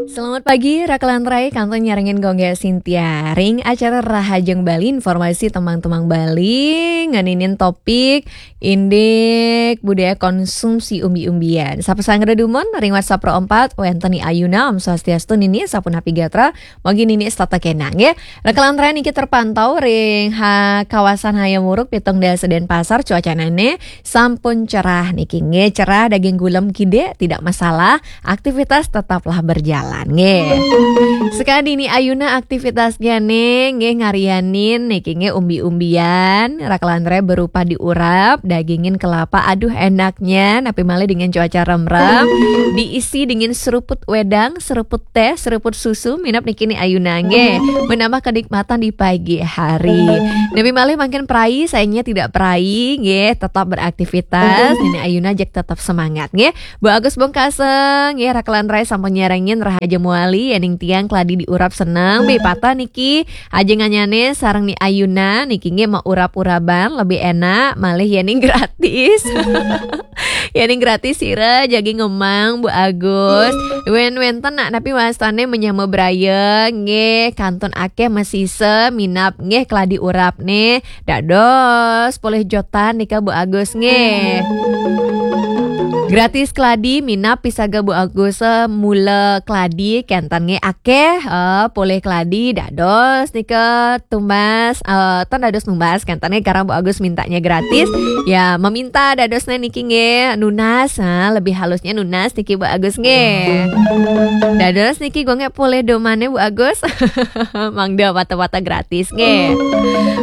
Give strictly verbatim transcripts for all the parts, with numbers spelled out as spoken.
Selamat pagi, Rakelan Rai, kantun nyarengin Gung Gé Sintia. Ring acara Rahajeng Bali, informasi tembang-tembang Bali, ngeninin topik indik budaya konsumsi umbi-umbian. Sapa sanggra dumun, ring WhatsApp Pro empat, wénten Ni Ayuna, Om Swastiastu Nini, sapunapi gatra, mugi Nini setata kénang, nggih. Rakelan Rai niki terpantau ring ha, kawasan Hayam Wuruk, Pitung Dasa Denpasar, cuacanané sampun cerah niki nggih, cerah daging gulem kidik, tidak masalah, aktivitas tetaplah berjalan nggih. Sekadi Ni Ayuna aktivitasnya nih nggih ngarianin niki nggih umbi-umbian, Rakelan Rai berupa diurap, dagingin kelapa, aduh enaknya, napi malih dengan cuaca remrem, diisi dengan seruput wedang, seruput teh, seruput susu, minab niki Ni Ayuna nggih, menambah kenikmatan di pagi hari. Napi malih mangkin perai, sayangnya tidak perai nggih, tetap beraktivitas. Nini Ayuna ajak tetap semangat nggih. Bu Agus Bongkaseng nggih, Rakelan Rai sampun nyarengin Rahajeng Bali, yéning tiang keladi diurap seneng, bih patah niki, ajeng anyané sareng Ni Ayuna niki nggih, maurap-uraban lebih enak, malih yéning gratis. Yéning gratis sira jagi ngemang, Bu Agus. Wén wénten nak napi wastané menyama braya nggih, kantun akéh masisa minab nggih keladi urapné. Dados polih jotan nika Bu Agus nggih. Gratis keladi minab pisaga Bu Agus, eh, mula keladi kénten nggih akéh, eh, polih keladi dados nika tumbas, eh, tan dados numbas kénten nggih, karena Bu Agus mintanya gratis. Ya, meminta dadosnya niki nggih nunas, ha, lebih halusnya nunas niki Bu Agus nggih. Dados niki Gung Gé polih domané Bu Agus. Mangda pata-pata gratis nggih.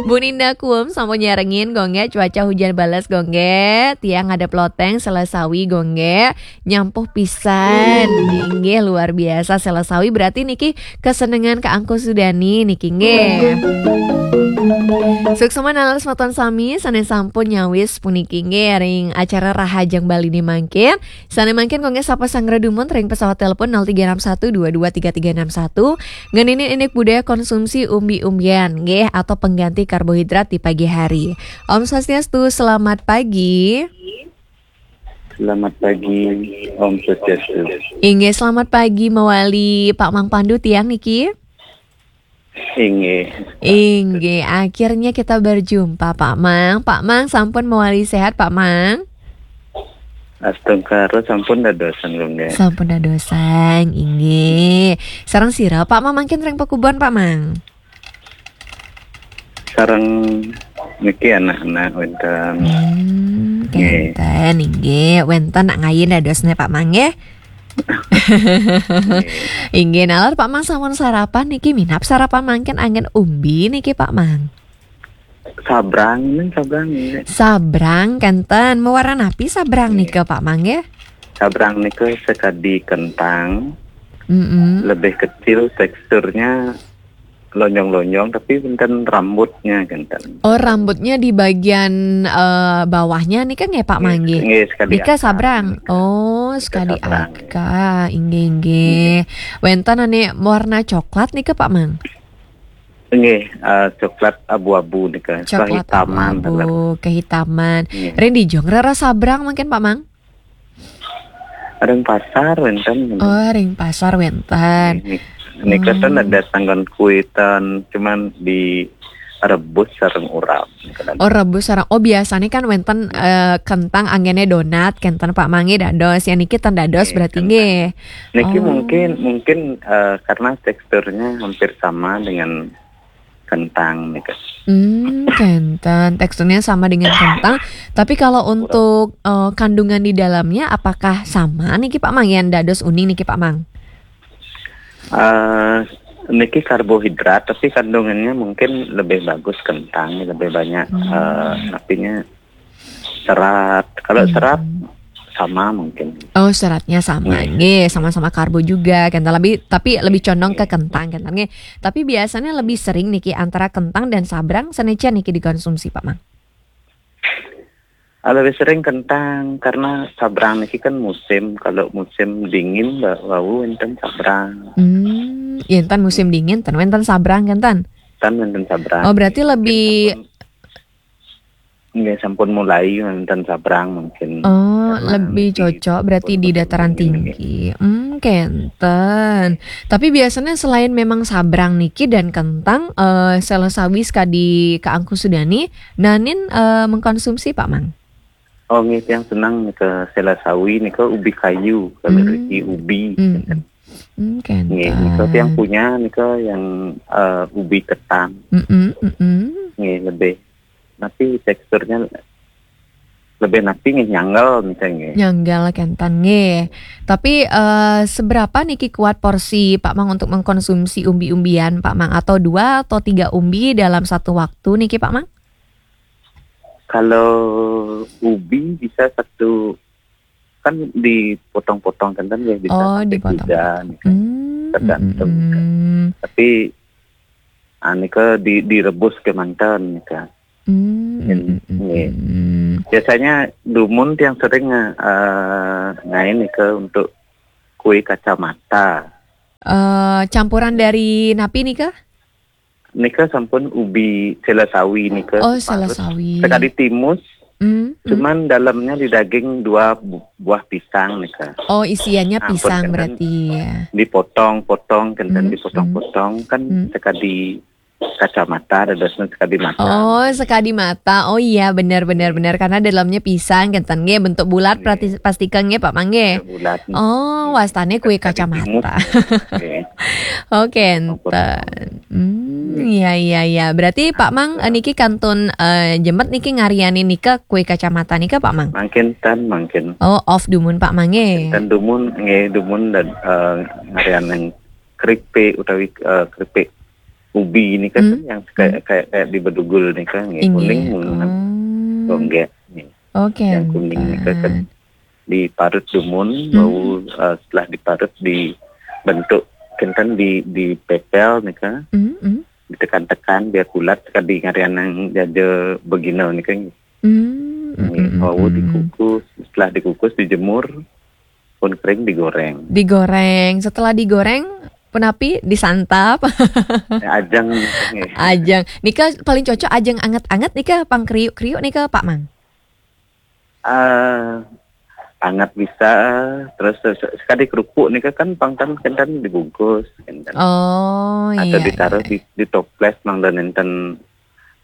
Bu Ninda Kuum sampun nyarengin Gung Gé, cuaca hujan bales Gung Gé, tiang ngadep loteng Selasawi Gung Gé, nyampuh pisan. Inggih luar biasa Selasawi, berarti niki kesenengan Kak Angku Sudani niki nggih. Suksma nalar semeton sami sané sampun nyawis puniki nggih ring acara Rahajeng Bali ni mangkin. Sané mangkin Gung Gé sapa sanggra dumun ring pesawat telepon nol tiga enam satu dua dua tiga tiga enam satu. Ngeninin indik budaya konsumsi umbi-umbian nggih atau pengganti karbohidrat di pagi hari. Om Swastiastu, selamat pagi. Selamat pagi, Om Swastiastu. Inggih, selamat pagi mawali Pak Mang Pandu tiang niki. Inggih. Inggih, akhirnya kita berjumpa Pak Mang. Pak Mang sampun mawali sehat Pak Mang? Astungkara sampun dadosan Gung Gé. Sampun dadosan, inggih. Sareng sira Pak Mang mangkin ring pakubon Pak Mang? Sareng niki anak-anak wénten. Hmm, nggih. Kénten, inggih. Wénten nak ngayin dadosné Pak Mang nggih. Inggih, nalar Pak Mang sampun sarapan niki, minab sarapan mangkin anggén umbi niki Pak Mang? Sabrang, ini sabrang ini. Sabrang kénten, mawarna napi sabrang nika Pak Mang nggih? Sabrang nika sekadi kentang. Mm-mm. Lebih kecil, teksturnya lonjong-lonjong, tapi wénten rambutnya kénten. Oh, rambutnya di bagian, eh, bawahnya nika nggih Pak Mang nggih? Nggih, sekadi akar. Nika sabrang. Oh, sekadi akar. Inggih, inggih. Wénten ané warna coklat nika Pak Mang? Nggih, eh, coklat abu-abu nika. Coklat kehitaman, abu-abu, kehitaman. Nggih. Ring dija ngrereh sabrang mangkin Pak Mang? Ring pasar wénten. Oh, ring pasar wénten. Nika kan ada tanggon kuitan, cuman direbus sareng urap. Oh, rebus sareng. Oh, biasanya kan wénten, eh, kentang anggéné donat, kénten Pak Mang nggih dados. Ya niki ten dados berarti nggih. Niki mungkin, mungkin, eh, karena teksturnya hampir sama dengan kentang nika. Hmm, kénten. Teksturnya sama dengan kentang. Tapi kalau untuk, eh, kandungan di dalamnya, apakah sama niki Pak Mang, yang dados uning niki Pak Mang? Eh, niki karbohidrat, tapi kandungannya mungkin lebih bagus kentang, lebih banyak, eh, artinya serat. Kalau serat sama mungkin. Oh, seratnya sama. Nggih, sama-sama karbo juga, kénten lebih, tapi lebih condong ke kentang, kénten nggih. Tapi biasanya lebih sering niki antara kentang dan sabrang, sané niki dikonsumsi, Pak Mang? Ah, lebih sering kentang, karena sabrang niki kan musim. Kalau musim dingin, wa-, wau wénten sabrang. Hmm, yén ten musim dingin, ten wénten sabrang, kénten? Ten wénten sabrang. Oh, berarti lebih Nggih, sampun mulai wonten sabrang mungkin. Oh, Karena lebih niki cocok berarti di pun dataran tinggi, nggih. Tinggi. Hmm, kenten. Tapi biasanya selain memang sabrang niki dan kentang, eh, sela sawi sekadi Kak Angku Sudani, nanin, eh, mengkonsumsi, Pak Mang? Oh, nggih, tiang senang nika sela sawi nika ubi kayu, kalau Hmm. riki ubi. Hmm. Hmm, Nggih, nika tiang kenten. Punya nika yang, eh, ubi ketan. Mm-mm, mm-mm. Nggih, lebih. Tapi teksturnya lebih napi nggih, nyanggal nika nggih. Nyanggal kenten nggih. Tapi, eh, seberapa niki kuat porsi Pak Mang untuk mengkonsumsi umbi-umbian, Pak Mang? Atau dua atau tiga umbi dalam satu waktu niki, Pak Mang? Kalau ubi bisa satu, kan dipotong-potong kenten nggih, bisa Oh, sampai dipotong. tiga nika. Hmm, Tergantung mm, nika. mm. Tapi, ah, nika di, direbus kemanten nika. Hmm, Nggih, mm, mm, nggih. mm. Biasanya dumun tiang sering, eh, ngain nika untuk kue kacamata. Eh, campuran dari napi nika? Nika sampun ubi sela sawi nika Oh, diparut. Sela sawi. Sekali timus, Hmm, hmm. Cuman dalamnya di daging dua bu-, buah pisang nika. Oh, isiannya Ampun, pisang kenten berarti ya. Dipotong-potong, kenten Hmm, dipotong-potong, kan hmm. sekadi kacamata, dadosnya sekadi mata. Oh, sekadi mata. Oh iya, benar, benar, benar. Karena dalamnya pisang, kenten nggih, bentuk bulat, Nggih. Prati-, pastika nggih, Pak Mang nggih. Bulat. Oh, wastane kue kacamata. Nggih. Oh, kenten. Hmm, iya, iya, iya. Berarti Pak Mang, eh, niki kantun, eh, jemet niki ngariani nika kue kacamata nika, Pak Mang? Mangkin ten, mangkin. Oh, off dumun, Pak Mang nggih. Ten dumun, nggih, dumun dan, eh, ngarian yang keripik utawi, eh, keripik ubi nika kan Hmm, yang kayak, hmm. kayak, kayak di Bedugul nika nggih, Inggih. Kuning mun Oh. Gonggek nggih. Oke, yang kuning nika kan diparut dumun, hmm. Bau, eh, setelah diparut dibentuk kenten di, dipepel nika. Hmm, hmm. Ditekan-tekan biar bulat, sekadi ngarian yang jaja begina nika nggih. Hmm, hmm, hmm, hmm. Bau dikukus, setelah dikukus dijemur, pun kering digoreng. Digoreng. Setelah digoreng, punapi disantap. Ya, ajeng, nggih. Ajeng. Nika paling cocok ajeng anget-anget nika, pang kriuk-kriuk nika, Pak Mang? Ah, anget bisa, terus se-, sekadi kerupuk nika kan pang ten kenten dibungkus, kenten. Oh, atau iya, ditaruh iya. Di, di toples, mangda nenten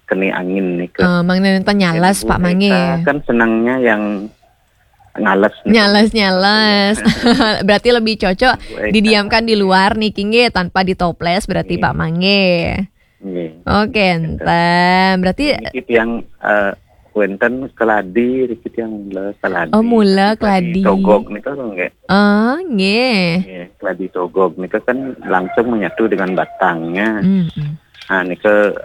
kena angin nika. Eh, mangda nenten nyales, Pak Mang nggih. Kan senangnya yang nyales nika. Nyales, nyales. Berarti lebih cocok didiamkan di luar niki nggih, tanpa ditoples berarti, Pak Mang nggih. Nggih. Oke, kenten. Berarti niki tiang, eh, wenten keladi, niki tiang mula keladi. Oh, mula keladi. Keladi togog nika nggih. Oh, nggih. Nggih, keladi togog nika kan langsung menyatu dengan batangnya. Hmm, hmm. Nah, nika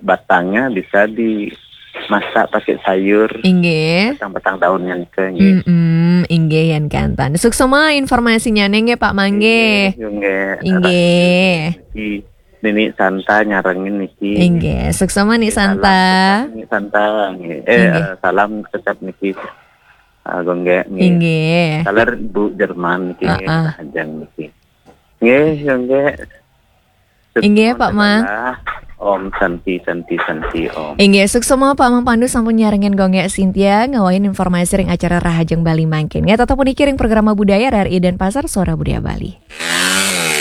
batangnya bisa dimasak pakai sayur. Inggih. Batang-batang daunnya nika, nggih. Mm-mm, inggih, yen kenten. Suksema informasinya nggih, Pak Mang nggih. Nggih, nggih. Inggih. Niki Nini Santa nyarengin niki. Inggih, suksema Ni Santa. Salam, Ni Santa, nggih. Eh, inggih. Eh, salam kecap niki. Ah, Gonggek nggih. Inggih. Salam Bu Jerman niki, nggih, ah, ah. Rahajeng niki. Nggih, Gonggek. Inggih, Pak Mang. Om Santi, Santi, Santi, Om. Inggih, suksema Pak Mang Pandu sampun nyarengin Gonggek Sintia, ngawain informasi ring acara Rahajeng Bali mangkin. Nggih, tetep puniki ring programa budaya R R I Denpasar, Suara Budaya Bali.